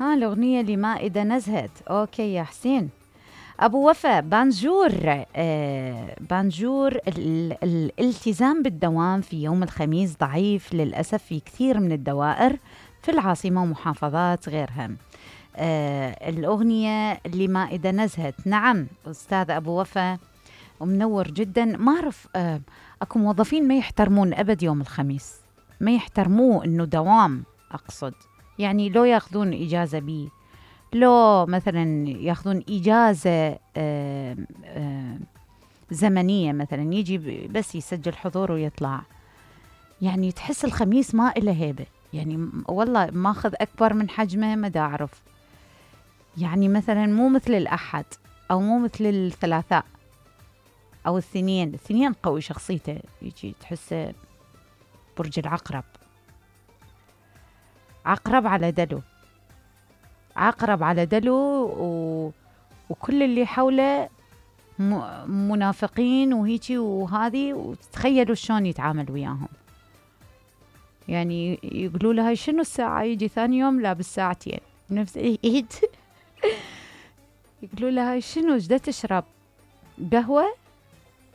ها الأغنية اللي ما إذا نزهت. أوكي يا حسين. أبو وفاء، بانجور. بانجور الالتزام بالدوام في يوم الخميس ضعيف للأسف في كثير من الدوائر في العاصمة ومحافظات غيرها. الأغنية اللي ما إذا نزهت. نعم أستاذ أبو وفاء، ومنور جدا. ما أعرف، أكو موظفين ما يحترمون أبد يوم الخميس، ما يحترموه إنه دوام. أقصد يعني لو ياخذون إجازة بيه، لو مثلا ياخذون إجازة زمنية، مثلا يجي بس يسجل حضور ويطلع. يعني تحس الخميس ما إله هيبة، يعني والله ماخذ أكبر من حجمه، ما دا أعرف. يعني مثلا مو مثل الأحد أو مو مثل الثلاثاء أو الاثنين قوي شخصيته، يجي تحسه برج العقرب، عقرب على دلو، عقرب على دلو، وكل اللي حوله منافقين وهيجي وهذه، وتخيلوا شلون يتعامل وياهم. يعني يقولوا لها شنو الساعة، يجي ثاني يوم لابس ساعتين نفس الايد. يقولوا لها شنو، ايش دا تشرب، قهوة؟